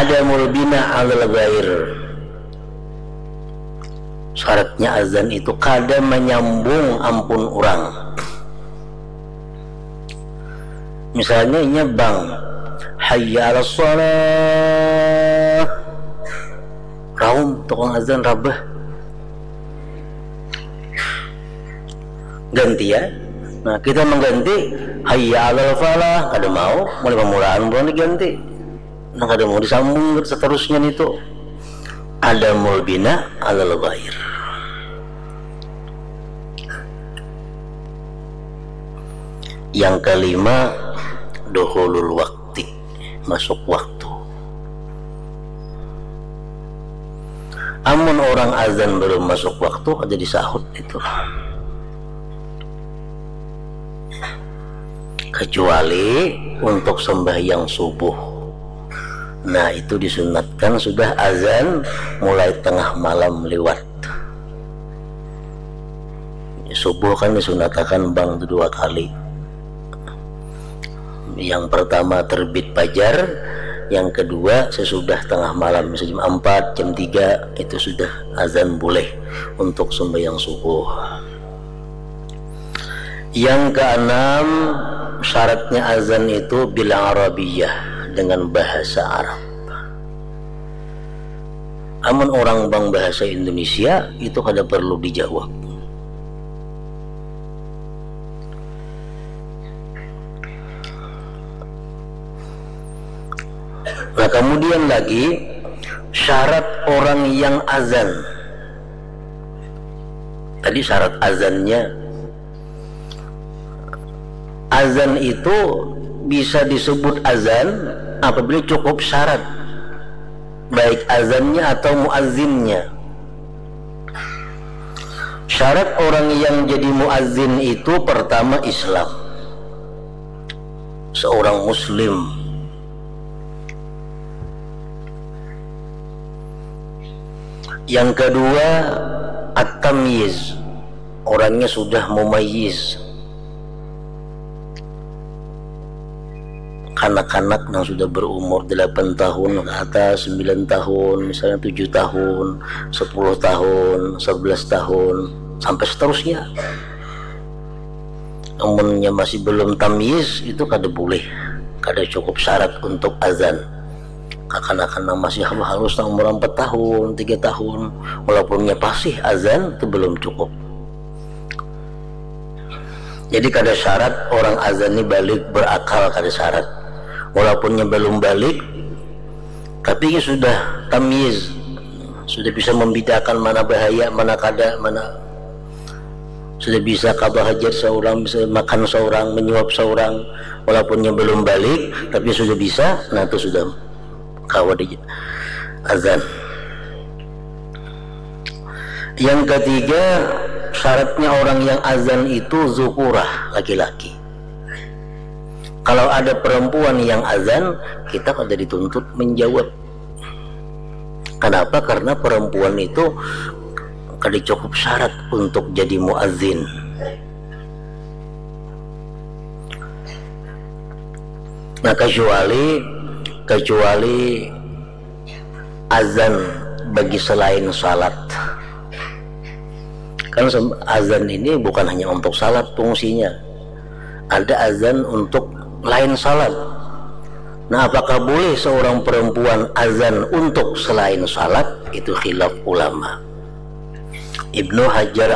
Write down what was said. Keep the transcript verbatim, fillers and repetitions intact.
Adamul bina alal ghair. Syaratnya azan itu kada menyambung ampun orang. Misalnya inya bang, hayya ala shalah, raum tukang azan rabah, ganti ya. Nah, kita mengganti hayya alal falah, kada mau, mulai pamulaan bukan diganti. Nah, kada mau disambung seterusnya itu. Adamul bina alal ghair. Yang kelima, duhulul waktu, masuk waktu. Amun orang azan belum masuk waktu, kada disahut itu. Kecuali untuk sembahyang subuh. Nah, itu disunatkan sudah azan mulai tengah malam lewat. Subuh kan disunatakan bang tu dua kali. Yang pertama terbit fajar, yang kedua sesudah tengah malam, misal jam empat, jam tiga, itu sudah azan boleh untuk sembahyang subuh. Yang keenam, syaratnya azan itu bil arabiyah, dengan bahasa Arab. Amun orang bang bahasa Indonesia, itu kada perlu dijawab. Nah, kemudian lagi, syarat orang yang azan. Tadi syarat azannya. Azan itu bisa disebut azan apabila cukup syarat, baik azannya atau muazzinnya. Syarat orang yang jadi muazin itu pertama Islam. Seorang muslim. Yang kedua, at-tamyiz. Orangnya sudah mumayyiz. Kanak-kanak yang sudah berumur delapan tahun ke atas, sembilan tahun, misalnya tujuh tahun, sepuluh tahun, sebelas tahun, sampai seterusnya. Amunnya masih belum tamyiz, itu kada boleh, kada cukup syarat untuk azan. Kakanakan nang masih halus-halus, nang umur empat tahun, tiga tahun, walaupun nya pasih azan, itu belum cukup. Jadi kada syarat orang azan ni balik berakal, kada syarat. Walaupun nya belum balik, tapi nya sudah tamyiz, sudah bisa membedakan mana bahaya, mana kada, mana sudah bisa qada hajat seorang, bisa makan seorang, menyuap seorang, walaupun nya belum balik, tapi sudah bisa, nah itu sudah kawa di azan. Yang ketiga, syaratnya orang yang azan itu zukurah, laki-laki. Kalau ada perempuan yang azan, kita kada dituntut menjawab. Kenapa? Karena perempuan itu kada cukup syarat untuk jadi muazin. Nah, kecuali, kecuali azan bagi selain salat. Kan sem-, azan ini bukan hanya untuk salat fungsinya. Ada azan untuk lain salat. Nah, apakah boleh seorang perempuan azan untuk selain salat? Itu khilaf ulama. Ibnu Hajar